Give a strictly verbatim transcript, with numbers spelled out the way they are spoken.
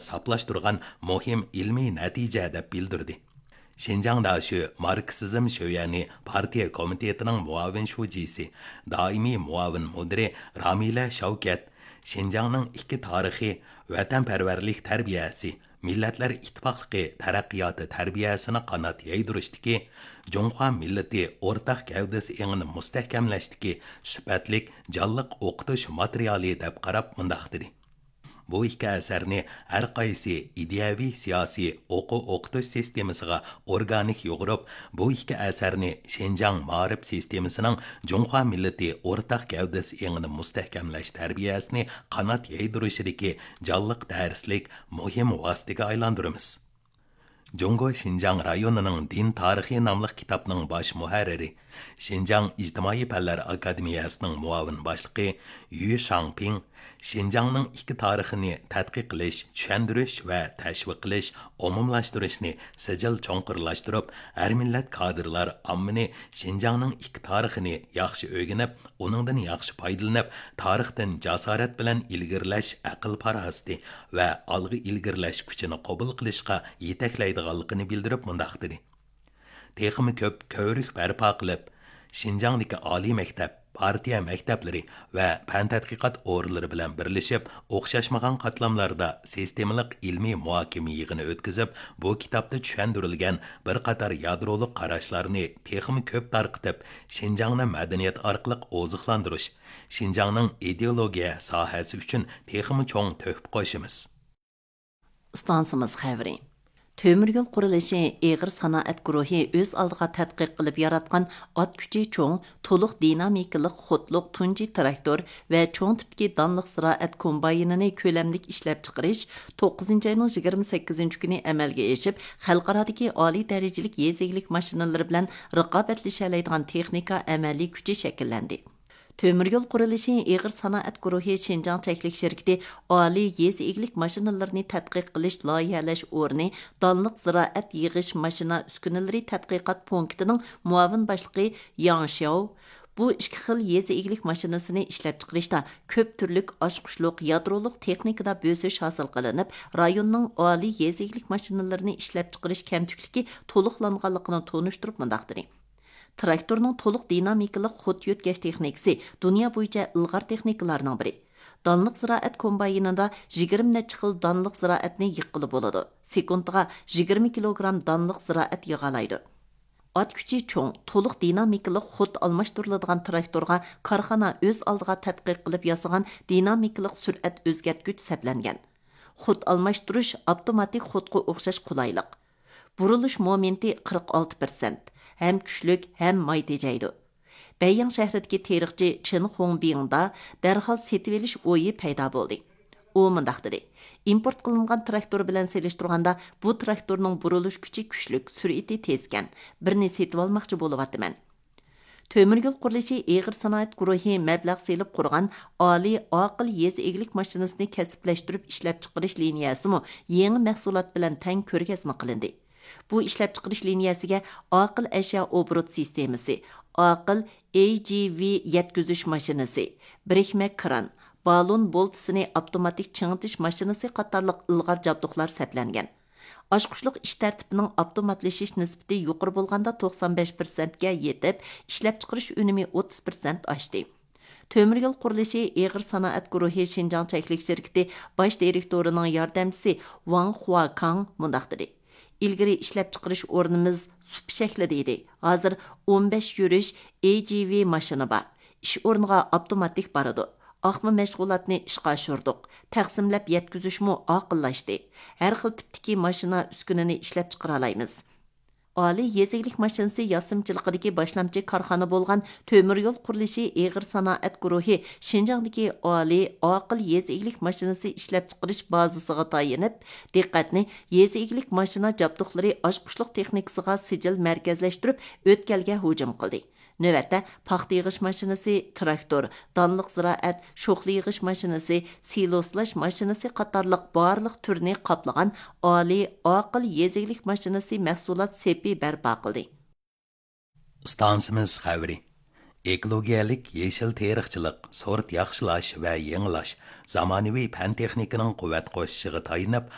ساپلاشتۇرغان مۇھىم ئىلمىي نەتىجە، دەپ بىلدۈردى. شىنجاڭ داشۆ ماركسىزم شۆيەنى پارتىيە كومىتېتىنىڭ مۇئاۋىن شۇجىسى، دائىمىي مۇئاۋىن مۇدىرى رامىلە شەۋكەت شىنجاڭنىڭ ئىككى تارىخى، ۋەتەنپەرۋەرلىك تەربىيەسى، مىللەتلەر ئىتتىپاقلىقى تەرەققىياتى تەربىيەسىنى قانات يايدۇرۇشتىكى، جۇڭخۇا مىللىتى ئورتاق گەۋدىسى ئېڭىنى مۇستەھكەملەشتىكى سۈپەتلىك، جانلىق ئوقۇتۇش ماتېرىيالى، دەپ قاراپ مۇنداق دېدى: بۇ ئىككى ئەسەرنى ھەر قايسى ئىدىيەۋى، سىياسىي، ئوقۇ ئوقۇتۇش سىستېمىسىغا ئورگانىك يۇغۇرۇپ، بۇ ئىككى ئەسەرنى شىنجاڭ مائارىپ سىستېمىسىنىڭ جۇڭخۇا مىللىتى ئورتاق گەۋدىسى ئېڭىنى مۇستەھكەملەش تەربىيەسىنى قانات يايدۇرۇشىدىكى جانلىق دەرسلىك مۇھىم ۋاسىتىگە ئايلاندۇرىمىز. جۇڭگو شىنجاڭ رايونىنىڭ دىن تارىخى ناملىق كىتابنىڭ باش مۇھەررىرى، شىنجاڭ ئىجتىمائىي پەنلەر ئاكادېمىيەسىنىڭ مۇئاۋىن باشلىقى يۈ شاڭپىڭ شىنجاڭنىڭ ئىككى تارىخىنى تەتقىق قىلىش، چۈشەندۈرۈش ۋە تەشۋىق قىلىش، ئومۇملاشتۇرۇشنى سىجىل چوڭقۇرلاشتۇرۇپ، ھەر مىللەت كادىرلار ئاممىنى شىنجاڭنىڭ ئىككى تارىخىنى ياخشى ئۆگىنىپ، ئۇنىڭدىن ياخشى پايدىلىنىپ، تارىختىن جاسارەت بىلەن ئىلگىرىلەش ئەقىل پاراسىتى ۋە ئالغا ئىلگىرىلەش كۈچىنى قوبۇل قىلىشقا يېتەكلەيدىغانلىقىنى بىلدۈرۈپ مۇنداق دېدى: تېخىمۇ كۆپ كۆۋرۈك بەرپا قىلىپ، شىنجاڭدىكى ئالىي مەكتەپ، پارتىيە مەكتەپلىرى ۋە پەن تەتقىقات ئورۇنلىرى بىلەن بىرلىشىپ، ئوخشاشمىغان قاتلاملاردا سىستېمىلىق ئىلمىي مۇھاكىمە يىغىنى ئۆتكۈزۈپ، بۇ كىتابتا چۈشەندۈرۈلگەن بىر قاتار يادرولۇق قاراشلارنى تېخىمۇ كۆپ تارقىتىپ، شىنجاڭنى مەدەنىيەت ئارقىلىق ئوزۇقلاندۇرۇش، شىنجاڭنىڭ ئىدېئولوگىيە ساھەسى ئۈچۈن تېخىمۇ چوڭ تۆھپە قوشىمىز. ئىستانسىمىز خەۋىرى. تۆمۈر يول قۇرۇلۇشى ئېغىر سانائەت گۇرۇھى ئۆز ئالدىغا تەتقىق قىلىپ ياراتقان ئات كۈچى چوڭ، تولۇق دىنامىكىلىق خودلۇق تۇنجى تىراكتور ۋە چوڭ تىپتىكى دانلىق زىرائەت كومباينىنى كۆلەملىك ئىشلەپچىقىرىش توققۇزىنچى ئاينىڭ يىگىرمە سەككىزىنچى كۈنى ئەمەلگە ئېشىپ، خەلقئارادىكى ئالىي دەرىجىلىك يېزا ئىگىلىك ماشىنىلىرى بىلەن رىقابەتلىشەلەيدىغان تېخنىكا ئەمەلىي كۈچى شەكىللەندى. تۆمۈر يول قۇرۇلۇشى ئېغىر سانائەت گۇرۇھى شىنجاڭ چەكلىك شىركىتى ئالىي يېزا ئىگىلىك ماشىنىلىرىنى تەتقىق قىلىش، لايىھەلەش ئورنى دانلىق زىرائەت يىغىش ماشىنا ئۈسكۈنىلىرى تەتقىقات پونكىتىنىڭ مۇئاۋىن باشلىقى ياڭ شياۋ بۇ ئىككى خىل يېزا ئىگىلىك ماشىنىسىنى ئىشلەپچىقىرىشتا كۆپ تۈرلۈك ئاچقۇچلۇق يادرولۇق تېخنىكىدا بۆسۈش ھاسىل قىلىنىپ، رايوننىڭ ئالىي يېزا ئىگىلىك ماشىنىلىرىنى ئىشلەپچىقىرىش كەمتۈكلۈكى تولۇقلانغانلىقىنى تونۇشتۇرۇپ مۇنداق دېدى: تىراكتورنىڭ تولۇق دىنامىكىلىق خود يۆتكەش تېخنىكىسى دۇنيا بويىچە ئىلغار تېخنىكىلارنىڭ بىرى. دانلىق زىرائەت كومباينىدا يىگىرمە نەچچە خىل دانلىق زىرائەتنى يىغقىلى بولىدۇ. سېكۇنتىغا يىگىرمە كىلوگرام دانلىق زىرائەت يىغالايدۇ. ئات كۈچى چوڭ، تولۇق دىنامىكىلىق خود ئالماشتۇرۇلىدىغان تىراكتورغا كارخانا ئۆز ئالدىغا تەتقىق قىلىپ ياسىغان دىنامىكىلىق سۈرئەت ئۆزگەرتكۈچ سەپلەنگەن. خود ئالماشتۇرۇش ئاپتوماتىك خودقا ئوخشاش قولايلىق. بۇرۇلۇش مومېنتى قىرىق ئالتە پىرسەنت، ھەم كۈچلۈك، ھەم ماي تېجەيدۇ. بەيياڭ شەھىرىدىكى تېرىقچى چېن خۇڭبىڭدا دەرھال سېتىۋېلىش ئويى پەيدا بولدى. ئۇ مۇنداق دېدى: ئىمپورت قىلىنغان تىراكتور بىلەن سېلىشتۇرغاندا، بۇ تىراكتورنىڭ بۇرۇلۇش كۈچى كۈچلۈك، سۈرئىتى تېزكەن. بىرنى سېتىۋالماقچى بولۇۋاتىمەن. تۆمۈر يول قۇرۇلۇشى ئېغىر سانائەت گۇرۇھى مەبلەغ سېلىپ قۇرغان ئالىي ئاقىل يېزا ئىگىلىك ماشىنىسىنى كەسىپلەشتۈرۈپ ئىشلەپچىقىرىش لىنىيەسىمۇ يېڭى مەھسۇلات بىلەن تەڭ كۆرگەزمە قىلىندى. بۇ ئىشلەپچىقىرىش لىنىيەسىگە ئاقىل ئەشيا ئوبوروت سىستېمىسى، ئاقىل ئېي جى ۋى يەتكۈزۈش ماشىنىسى، بىرىكمە كران، بالون بولتىسىنى ئاپتوماتىك چىڭىتىش ماشىنىسى قاتارلىق ئىلغار جابدۇقلار سەپلەنگەن. ئاچقۇچلۇق ئىش تەرتىپىنىڭ ئاپتوماتلىشىش نىسبىتى يۇقىرى بولغاندا توقسان بەش پىرسەنتكە يېتىپ، ئىشلەپچىقىرىش ئۈنۈمى ئوتتۇز پىرسەنت ئاشتى. تۆمۈر يول قۇرۇلۇشى ئېغىر سانائەت گۇرۇھى شىنجاڭ چەكلىك شىركىتى باش دىرېكتورىنىڭ ياردەمچىسى ۋاڭ خۇاكاڭ مۇنداق دېدى: ئىلگىرى ئىشلەپچىقىرىش ئورنىمىز سۇپا شەكلىدە ئىدى، ھازىر ئون بەش يۈرۈش ئېي جى ۋى ماشىنا بار. ئىش ئورنىغا ئاپتوماتىك بارىدۇ. ئاقما مەشغۇلاتنى ئىشقا ئاشۇردۇق. تەقسىملەپ يەتكۈزۈشمۇ ئاقىللاشتى. ھەر خىل تىپتىكى ماشىنا ئۈسكۈنىنى ئىشلەپچىقىرالايمىز. ئالىي يېزا ئىگىلىك ماشىنىسى ياسىمىچىلىقىدىكى باشلامچى كارخانا بولغان تۆمۈر يول قۇرۇلۇشى ئېغىر سانائەت گۇرۇھى شىنجاڭدىكى ئالىي ئاقىل يېزا ئىگىلىك ماشىنىسى ئىشلەپچىقىرىش بازىسىغا تايىنىپ، دىققەتنى يېزا ئىگىلىك ماشىنا جابدۇقلىرى ئاچقۇچلۇق تېخنىكىسىغا سىجىل مەركەزلەشتۈرۈپ، ئۆتكەلگە ھۇجۇم قىلدى. نۆۋەتتە، پاختا يىغىش ماشىنىسى، تىراكتور، دانلىق زىرائەت، شوخلا يىغىش ماشىنىسى، سىلوسلاش ماشىنىسى قاتارلىق بارلىق تۈرنى قاپلىغان ئالىي ئاقىل يېزا ئىگىلىك ماشىنىسى مەھسۇلات سېپى بەرپا قىلدى. ئىستانسىمىز خەۋىرى. ئېكولوگىيەلىك يېشىل تېرىقچىلىق، سورت ياخشىلاش ۋە يېڭىلاش، زامانىۋى پەن تېخنىكىنىڭ قۇۋۋەت قوشۇشىغا تايىنىپ،